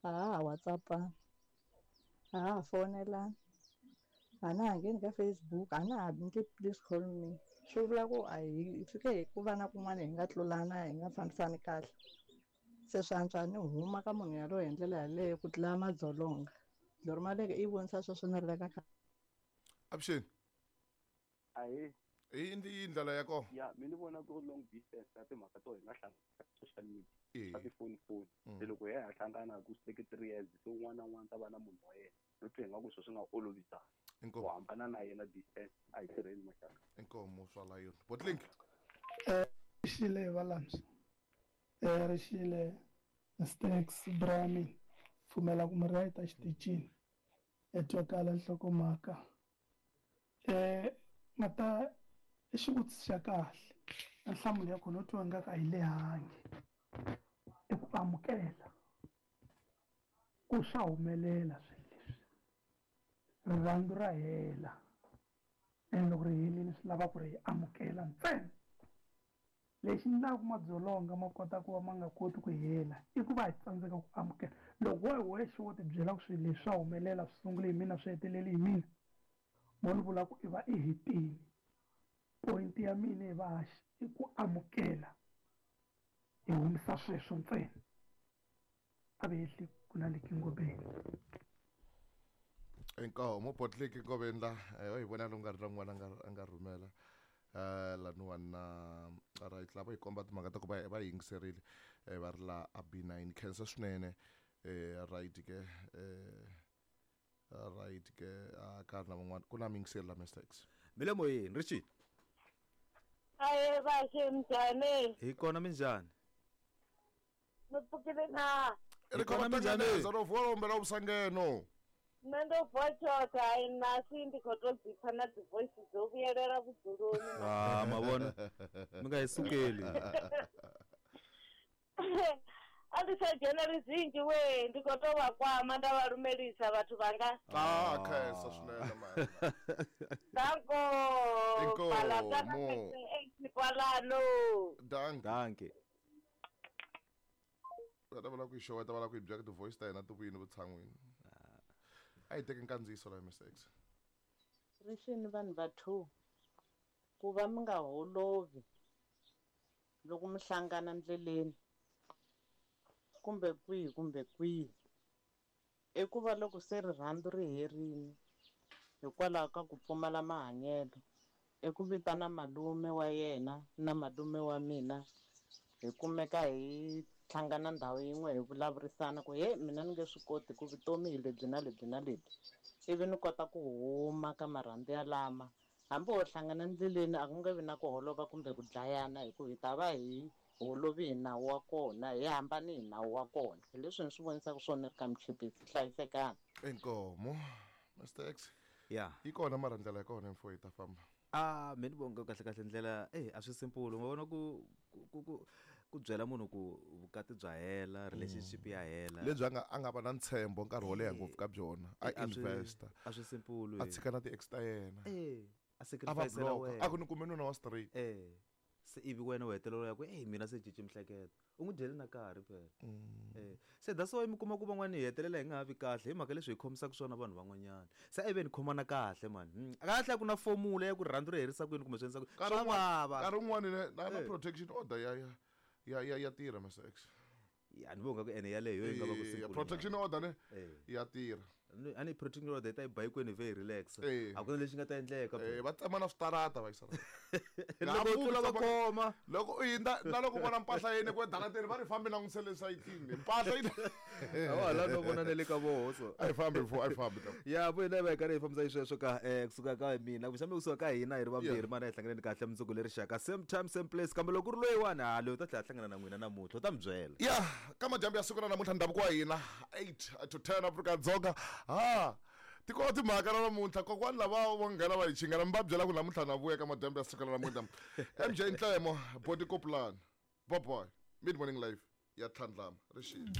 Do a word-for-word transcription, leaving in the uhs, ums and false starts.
A ha ha WhatsApp-ani, a ha ha fonelani, a na ha ngheni ka Facebook, a na ha ndli please call me. Swi vula ku a hi fike hi ku va na kun'wana hi nga tlulana hi nga fambisani kahle. Se swi antswa ni huma ka munhu yaloye hi ndlela yaleyo ku tlula madzolonga. Lori Maleke i vonisa sweswo ni ri le ka khale. Avuxeni. Ahee. I ndzi ndlela ya kona. Ya, mina ni vona ku ri long distance na timhaka to hi nga hlangana ka social media. Eh. Ka tifoni foni. Mm. Se loko hi ya hi hlangana ku swi teke three years se un'wana na un'wana ta va na munhu wa yena. No twa ingaku swilo swi nga olovisa. Inkomu. Ku hambana na yena distance a hi tirheni maxaka. Inkomu swa la yona. Botlink. Eh, Rixile Valams. Eh, Rixile Stacks Brami. Pfumela ku mi right a xitichini. E twakala nhlokomhaka. Eh, mata i xivutiso xa kahle. Na nhlamulo ya kona u twa nga ka a yi lehangi. I ku amukela ku swa humelela swilo leswi. Rirhandzu ra hela. Ene loko ri helile swi lava ku ri hi amukela ntsena. Lexi endlaka madzolonga ma kota ku va ma nga koti ku hela i ku va hi tsandzeka ku amukela. Loko wo hi wexe wo tibyela ku swilo leswi swa humelela swi sungule hi mina swi hetelele hi mina, mo ni vula ku i va i hetile. Point ya mina hi vahaxi i ku amukela hi humesa sweswo ntsena. A va hehli ku na le Kingobeni. Inkomu Botlink Ngoveni la eh hi vona lo nga ri na n'wana a nga a nga rhumela. Eh laniwani na right lava hi komba timhaka ta ku va va yingiserile eh va ri la a B nine khensa swinene eh right ke eh right ke a ka ri na van'wana ku na miyingiseri la Mister X. Mi le moyeni Richie. Aye vaxe minjhani? Hi kona minjhani? Mi pfukile na? Ri kona kona minjhani? minjhani ro vola umbela vusangeno. Nṋe ndo vuwa tshoṱhe hai nasi ndi khou tou dzi pfa na dzi voice dzo vhuyelela vhudzuloni. Ah, ma vona. Mi nga hi sukeli. A ndi sa dzheneli zwinzhi we, ndi khou tou vha kwama nda vha lumelisa vhathu vhanga. Ah, khensa swinene mani. Danko. Inkomu. Palatana eight kwalano. Danke. Danke. Va ta va lava ku yi xeweta va lava ku yi byela ku ti-voice ta hina ti vuyini vutshan'wini. A yi teki nkandziyiso la Mister X. Rixini vanhu va two ku va mi nga holovi loko mi hlangana ndleleni kumbe kwihi kumbe kwihi i ku va loko se rirhandzu ri herile hikwalaho ka ku pfumala mahanyelo i ku vitana malume wa yena na malume wa mina hi kumeka hi hlangana ndhawu yin'we hi vulavurisana ku he mina ni nge swi koti ku vutomi hi lebyi na lebyi na lebyi ivi ni kota ku huma ka marhandzu yalama hambi ho hlangana ndleleni a ku nge vi na ku holova kumbe ku dlayana hi ku hi ta va hi holovi hi nawu wa kona hi hambani hi nawu wa kona hi leswi ni swi vonisaka swona ri ka Michipisi hlayisekani. Inkomu Mister X. Ya. Yi kona mara ndlela ya kona mfo yi ta famba. Ah, mina ni vonga kahle kahle ndlela eh a swi simple u nga vona ku ku ku ku byela munhu ku vukati bya hela relationship ya hela lebyi a nga a nga va na ntshembo nkarhi wo leha ngopfu ka byona a Eh, a swi- investor a swi simple a tshika na ti-ex ta yena eh a a va sacrifice la block wena a ku ni kume nuna wa straight eh se ivi wena u hetelela ya ku eh mina se cinci miehleketo u n'wi dyele na nkarhi phela eh se that's why mi kuma ku van'wani hi hetelela hi nga ha vi kahle hi mhaka leswi hi khomisaka swona vanhu van'wanyana se a yi ve ni khomana kahle man Mm, kahle a ku na formula ya ku rirhandzu ri herisa kwini kumbe swi endlisa ku nkarhi swa wun'wana vava nkarhi wun'wani ne- na na Eh. protection order ya ya ya ya ya tirha Mister X. Ya ni vonga ku ene yaleyo yi nga va ku Eh, simple protection order ne Eh. ya tirha. Ni- a ni protection order yi ta yi ba hinkwenu hi ve hi relax Eh. a ku na lexi nga ta endleka Eh, va tsema na switarata va yisa loko u tlula va khoma loko u hindza na loko u vona mpahla yini ku darateni va ri fambi langutisele sayitini mpahla yi a la no vona na le ka voho so a yi fambi mfo a yi fambi ya vo hina hi va hi karhi hi fambisa xisweswo ka eh kusuka ka mina kumbexana kusuka ka hina hi ri vambirhi Yeah. mana hi hlanganeni kahle mundzuku leri xaka same time same place kambe loko ku ri loyiwani ha loyi u ta tlhela a hlangana na n'wina namuntlha u ta mi byela ya ka madyambu ya siku ra namuntlha ndhavuko wa hina eight to ten Afrika Dzonga ha tiko timhaka ra namuntlha kokwani lava va nghena va hi chingela mi va byela ku namuntlha na vuya ka madyambu ya siku ra namuntlha M J Ntlemo Body Kopulani Boboy Mid Morning Live ya tlhandlama rixile.